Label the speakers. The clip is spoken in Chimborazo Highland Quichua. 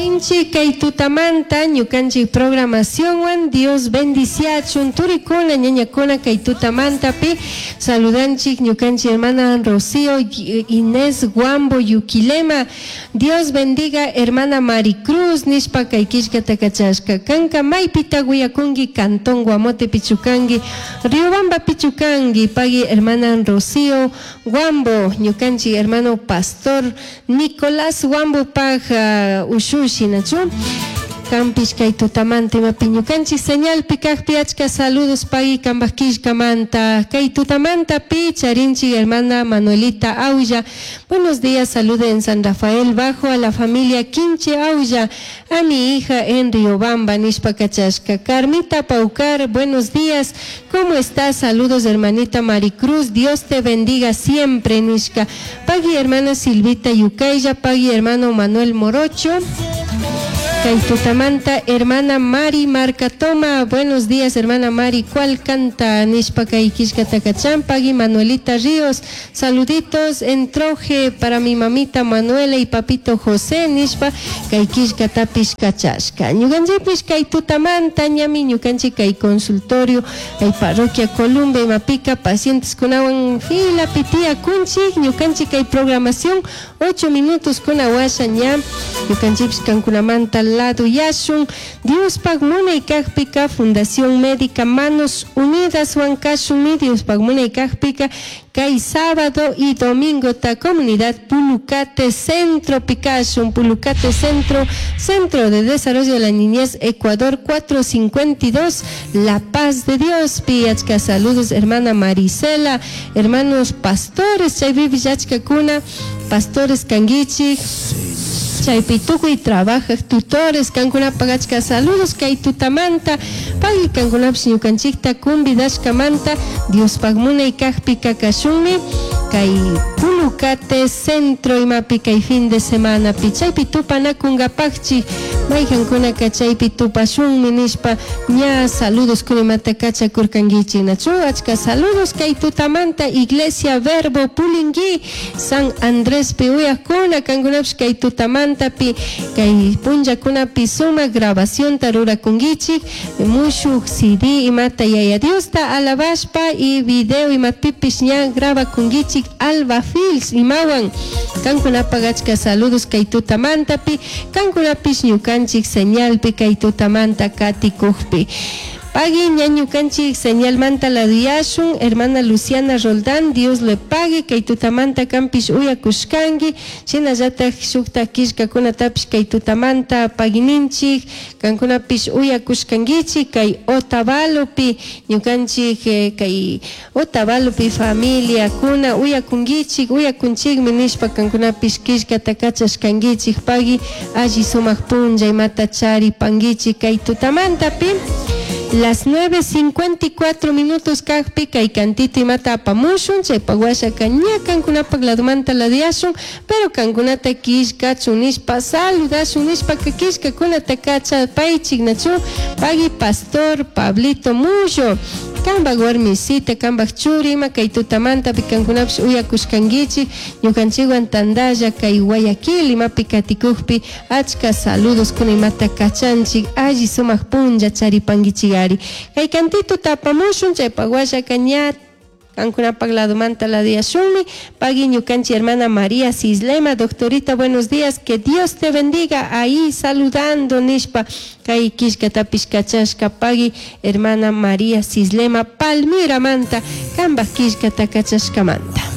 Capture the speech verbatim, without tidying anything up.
Speaker 1: Katinchik kay tutamanta ñukanchik programacionwan Dios bendiciachun turikuna ñañakuna kay tutamantapi saludanchik ñukanchik hermana Rocío Inés Guambo Yuquilema. Dios bendiga hermana Maricruz nishpa kay killkata kachashka. Kanka maypita uyakunki Cantón Guamote pichukanki Riobamba pichukanki pagui hermana Rocío Guambo ñukanchik hermano pastor Nicolás Guambo paj uh, ushushi nachu Kampish kay tutamanta imapi ñukanchik señalpi kajpi achka saludos pagui kambaj killkamanta kay tutamanta pi charinchik hermana Manuelita Aulla. Buenos días, salude en San Rafael Bajo a la familia Quinche Aulla, a mi hija en Riobamba nishpa kachashka. Carmita Paucar, buenos días, ¿cómo estás? Saludos, hermanita Maricruz, Dios te bendiga siempre nishka. Pagui hermana Silvita Yucaya, pagui hermano Manuel Morocho. Kay tutamanta, hermana Mari Marcatoma, buenos días, hermana Mari, ¿cuál canta? Nishpa kay killkata kachan, pagui Manuelita Ríos, saluditos en Troje para mi mamita Manuela y papito José, nishpa kay killkatapish kachashka. Ñukanchikpish kay tutamanta, ñami ñukanchik kay consultorio, kay parroquia Columbia, imapika, pacientes kunawan fila pitía kunchik, ñukanchik kay programación, ocho minutos kunawasha ña, ñukanchikpish kankunamanta lado yashun Diospaj munay kajpika Fundación Médica Manos Unidas huancashunmi Diospaj munay kajpika kay sábado y domingo ta comunidad Pulucate Centro Picashun Pulucate Centro, Centro de Desarrollo de la Niñez Ecuador cuatrocientos cincuenta y dos, La Paz de Dios piachka. Saludos, hermana Marisela, hermanos pastores chaypipish achkakuna pastores kanguichik chaypi tukuy trabajaj tutores kankunapaq achka saludos kay tutamanta. Pagui kankunapish ñukanchikta convidashkamanta. Diospaj munay kajpi kakashunmi kay Pulucate Centro imapi kay fin de semana pi chaypi tupanakunkapakchik maykankunaka chaypi tupashunmi nishpa ña saludos kunimata kachakurkankichik nachu. Achka saludos kay tutamanta. Iglesia Verbo Pulingui San Andrés pi uyakuna kankunapish kay tutamantapi kay punllakunapi sumak grabacionta rurakunkichik mushuk C D imata Yaya Diosta alabashpa y video imapipish ña grabakunkichik Alba Fields imawan kankunapak achka saludos kay tutamantapi kankunapish ñukanchik señalpi kay tutamanta katikukpi. Pagui ñañukanchik señalmanta laduyashun. Hermana Luciana Roldán, Dios le pague kay tutamanta kampish uyakushkanki shinallatak shukta killkakunatapish kay tutamanta paguininchik kankunapish uyakushkankichik kay Otavalopi ñukanchik eh, kay Otavalopi familiakuna uyakunkichik uyakunchikmi nishpa kankunapish killkata kachashkankichik. Pagui alli sumak punlla imata charipankichik kay tutamantapi. Las nueve cincuenta y cuatro minutos kajpi kay cantito imata apamushun chaypak washaka ña kankunapak ladumanta ladiashun, pero kankunata killkachun nishpa saludashun nishpa killkakunata kachapaychik nachu. Pagui pastor Pablito Mullo, kambak warmisita kambak churi ima kay tutamantapi kankunapish uyakushkankichik ñukanchikwan tandalla kay Guayaquil imapi katikukpi achka saludos kuna imata kachanchik alli sumak punlla charipankichikari. Kay cantito tapamushun chaypak washaka ña kankunapak ladumanta ladiyashunmi. Pagui ñukanchik hermana María Cislema, doctorita, buenos días, que Dios te bendiga, ahí saludando nishpa kay killkatapish kachashka. Pagui hermana María Cislema Palmira manta kambak killkata kachashkamanta.